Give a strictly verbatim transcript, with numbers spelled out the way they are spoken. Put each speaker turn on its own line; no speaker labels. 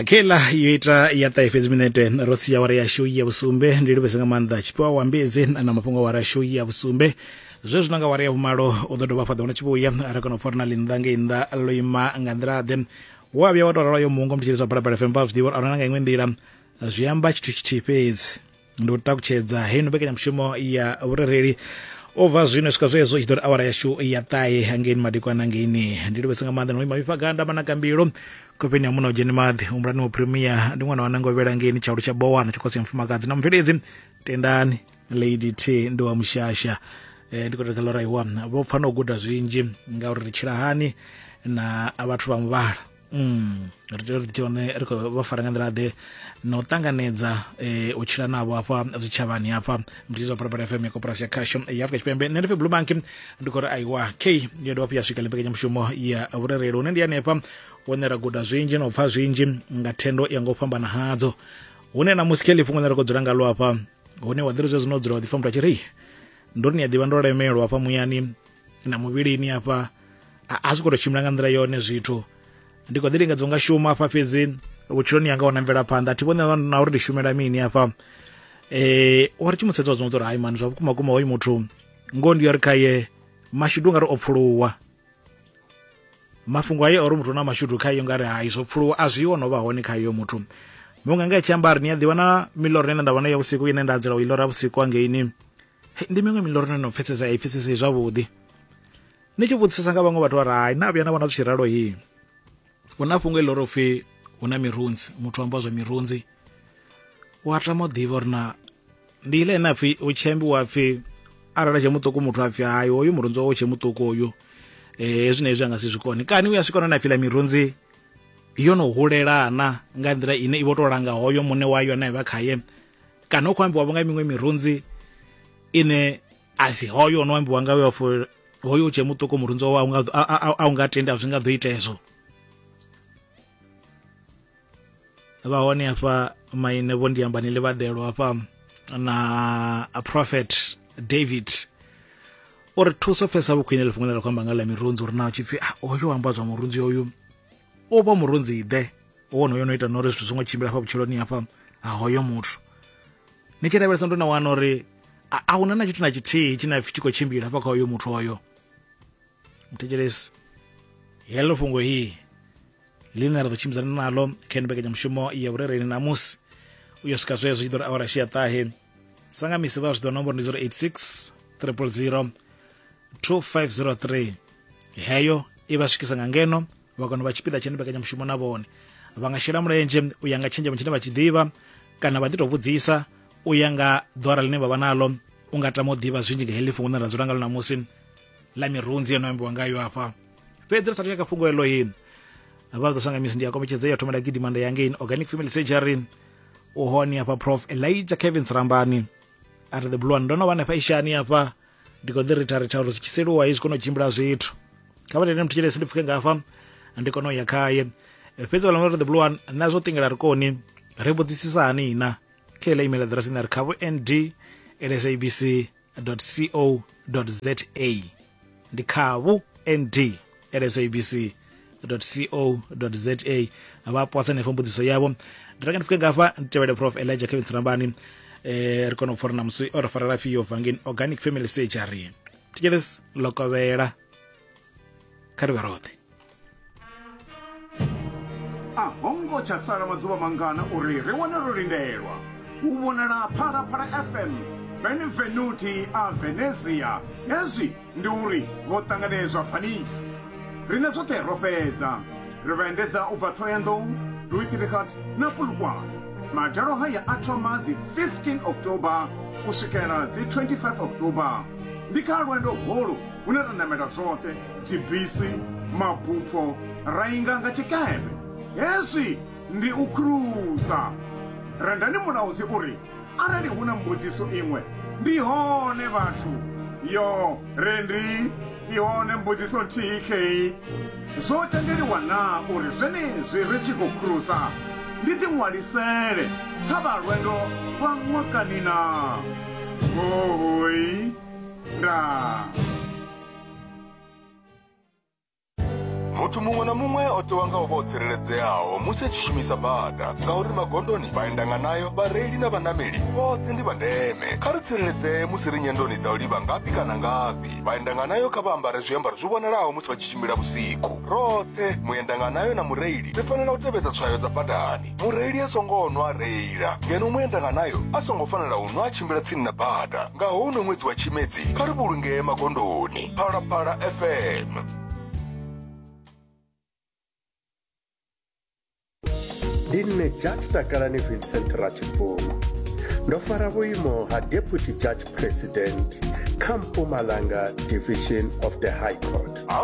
Kela yo ita ya ṱahe fhedzi minete ro sia awara yashu ya vhusumbe. Ndi livhese nga maanḓa tshifhiwa wa mbedzi na mafhungo awara yashu ya vhusumbe. Zwezwi nga awara ya vhumalo u ḓo dovha fhaḓa hona tshivhuya ra kona u pfa uri na ḽinnḓa ngei nnḓa ḽo ima nga nḓila ḓe. Wa vhuya wa tou ralo yo mungo mutshilisi wa Phalaphala F M vha zwi ḓivha uri ahuna nga iṅwe nḓila zwi amba tshithu tshithihi fhedzi, ndi u takutshedza heino mbekanyamushumo ya vhurereli. U bva zwino swika zwezwo i tshi ḓo ri awara yashu ya ṱahe hangeini madekwana ngeini. Ndi livhese nga maanḓa no ima mifhaganda manakambilo khofheni ya muna u dzheni maḓi humbulani wa premier ndi ṅwana wa nangovhela ngeini tshaulu tsha bowana tsha khosi ya mufumakadzi na mubveledzi Tendani Lady T ndi wa mushasha. E, ndi khou tou kha ḽo raiwa vho pfa no guda zwinzhi ngauri ri tshila hani na vhathu vha muvhala. Mm, ri tea uri tshone ri khou vha fara nga nḓila ḓe na u ṱanganedza eh, u tshila navho hafha zwitshavhani hafha. Muthizi wa Phalaphala F M ya koporasi ya khasho ya Afrika Tshipembe. Nṋe ndi pfi Blue Monkey, ndi khou ri aiwa k yo dovha hafhu ya swika mbekanyamushumo ya vhurereli hune ndi hanefha hune ra guda zwinzhi na u pfa zwinzhi nga thendo ya nga u fhambana hadzo, hune na musi khe ḽifhungo ḽine ra khou dzula ngalo hafha hune wa ḓiri zwezwo no dzula wa ḓipfa muthu a tshi ri ndo ri ni a ḓivha ndo lemelwa hafha muyani na muvhilini hafha a zwi khou tou tshimbila nga nḓila yone zwithu, ndi khou ḓi lingedza nga shuma hafha fhedzi vhutshiloni yanga wana mvelaphanḓa thi vhoni na uri ndi shumela mini hafha. Eh wa ri tshi musedza wa zwi uri hai mani zwa vhukuma kuma hoyu muthu ngoho ndi uri khaye mashudu ngari o pfuluwa, mafhungo aye ori muthu na mashudu khaye ngari hai zwo pfuluwa a zwi no vha hone khaye muthu. Munga nga tshi amba ri ni a ḓivha na miloro ine nda vhona ya vhusiku ine nda dzula u ilora vhusiku angeini ndi miṅwe miloro ine no pfesesa i pfesesa zwavhuḓi. Ni tshi vhudzisa nga vhaṅwe vhathu vha ri hai na vhuya na vhona zwi tshi ralo hi huna fhungo iḽo ro pfi huna mirunzi, muthu amba zwa mirunzi wa tama u ḓivha uri na ndi ile ine apfi u tshi ambiwa pfi arali tshe muṱuku muthu apfi hai hoyu murunzi wawe tshe muṱuku hoyu eh hezwi na hezwi anga si zwi kone, kani u ya swika na pfi ḽa mirunzi yo no hulelana nga nḓila ine i vho to langa hoyo muṋe wayo ane vha khaye, kana u khou ambiwa nga miṅwe mirunzi ine a si hoyo no ambiwa nga yo hoyo tshe muṱuku murunzi wawe a unga tendi a zwi nga ḓo ita hezwo. Vha hone hafha maine vho ndi amba ni ḽivhaḓelo hafha na a Prophet David uri thuso pfesa vhukhwine ḽifhungo ḽa khou amba nga ḽa mirunzi uri na tshipfi oyo amba zwa murunzi oyu o vha murunzi ḓe wonoyo no ita no uri zwithu zwi ngo tshimbila hafha vhutshiloni hafha ha hoyo muthu. Ni tshi lavhelesa ndo na wana uri a huna na tshithu na tshithihi tshine pfi tshi khou tshimbila hafha kha hoyo muthu oyo. Muthetshelesi heḽo fhungo hii ḽine ra ḓo tshimbidzana nalo kha ino mbekanyamushumo ya vhurereli namusi u yo swika zwezwo tshi ḓo ri awara ya ṱahe. Sanga misi vha zwi ḓo nomboro ndi zero eight six triple zero two five zero three. Heyo i vha swikisa nga ngeno vha kona u vha tshipiḓa tsha ino mbekanyamushumo na vhone vha nga shela mulenzhe u ya nga tshenzhemo tshine vha tshi ḓivha kana vha ḓi tou vhudzisa u ya nga ḓwara ḽine vha vha nalo. U nga tama u ḓivha zwinzhi nga heḽi fhungo ḽine ra dzula ngalo namusi ḽa mirunzi yo no ambiwa ngayo hafha. Fhedzi ri sathu ya kha fhungo heḽo hii vha ḓo sanga misi ndi ya kombetshedza ya thoma nda gidima nda ya ngei Organic Family Surgery. U hone hafha Prof Elijah Kevin Rambani a ri the blue one ndo no vha hanefha ishani hafha ndi khou ḓi ritha ritha uri zwi tshi seluwa hezwi kona u tshimbila zwithu kha vha tende mutshilesi ndi pfuke nga hafha ndi kona u ya khaye. Fhedzi vha ri the blue one na zwo tingela ri koni ri vhudzisisa hani na kha iḽa email address ine ri khavho nd at sabc dot co dot za ndi khavhu nd at sabc dot co dot za vha posa henefho mbudziso yavho. Ndi ranga ndi pfuke ngafha ndi tevhele Prof Elijah Kevin Rambani eh ri kona u pfa uri na musi o ri farela fhio vangeni Organic Family Surgery. Thetshelesi ḽo kha ri vhe roṱhe.
A hongo tsha sala maḓuvha mangana uri ri wane ro lindelwa u vhonala Phalaphala F M Benvenuti a Venezia. Hezwi ndi uri vho ṱanganedzwa Venice. Rine zwoṱhe ro fhedza ri vha endedza u bva Thohoyandou, Louis-Trichardt na Polokwane. Madalo haya a thoma dzi fifteen October u swikela dzi twenty-five October. Ndi kha lwendo holu hune ra namela zwoṱhe dzibisi, mabupho, ra inga nga tshikepe. Hezwi ndi u khurusa. Rendani Mulaudzi uri arali hu na mbudziso iṅwe ndi hone vhathu yo rendi i hone mbudziso nthihi khei. Zwo tendeliwa na uri zwenezwi ri tshi khou khurusa ndi ḓiṅwalisele kha vha lwendo lwa ṅwakani na hoi ndaa.
Muthu muṅwe na muṅwe o tewa nga u vha o tsireledzeaho musi a tshi shumisa bada, ngauri magondoni, vhaendanganayo, vhareili na vhanameli vhoṱhe ndi vha ndeme. Kha ri tsireledzee musi ri nyendoni dza u livha ngafhi kana ngafhi. Vhaendanganayo kha vha ambare zwiambaro zwi vhonalaho musi vha tshi tshimbila vhusiku. Roṱhe, muendanganayo na mureili, ri fanela u tevhedza tswayo dza badani. Mureili a songo nwa a reila, ngeno muendanganayo a songo fanela u nwa a tshimbila tsini na bada. Nga houno ṅwedzi wa Tshimedzi, kha ri vhulungee magondoni. Phalaphala F M.
Ndi nṋe Judge Takalani Vincent Ratshibvumo. Ndo fara vhuimo ha Deputy Judge President kha Mpumalanga Division of the High Court.